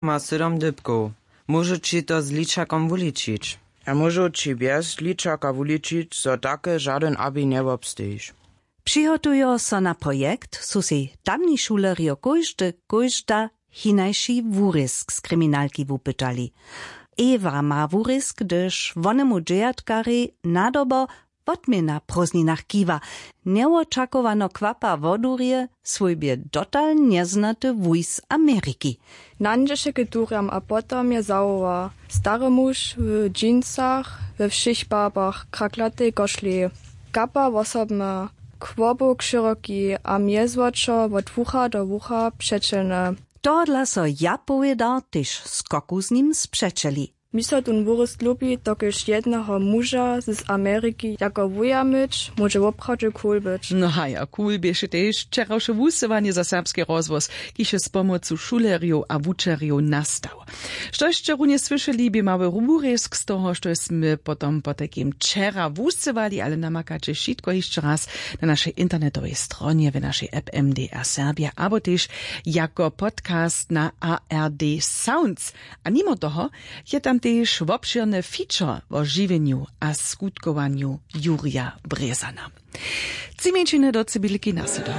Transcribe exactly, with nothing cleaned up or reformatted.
Ma sydom dypkow. Móžu ći to z ličakom wuličić? A móžu ći bjez ličaka wuličić, zo take žadyn abi njewobstejiš. Přihotujo so na projekt, su sej tamni šulerjo kóždy kóžda hinajši wurězk z kriminalki wupytali. Ewa ma wurězk, hdyž wonemu dźejatkarej nadobo wotměna w prózdninach kiwa, njewočakowano kwapa wodurje swójbje dotal njeznaty wuj z ameriki. Nańdźeše k durjam a potom je zawoła: stary muž w džínsach, we wšěch barbach, kraklatej košli, kapa wosobna, kłobuk šyroki a mjezwočo wot wucha do wucha přećelne. Tohodla so ja powěda tež skoku z nim spřećeli. Mi so tón wurězk lubi, dokelž jedneho muža z ameriki jako wuja myć móže woprawdźe cool być. No haja, cool běše tež wčerawše wusyłanje za serbski rozhłos, kiž je z pomocu šulerjow a wučerjow nastał. Što sće runje słyšeli, bě mały wurězk z toho, što smy potom potajkim wčera wusyłali, ale namakaće wšitko hišće raz na našej internetowej stronje, w našej app M D R Serbia abo tež jako podcast na A R D Sounds. A nimo toho je tam tež wobšěrny feature wo žiwjenju a skutkowanju Jurja Brězana. Tři mjeńšiny do cybilki na sydom.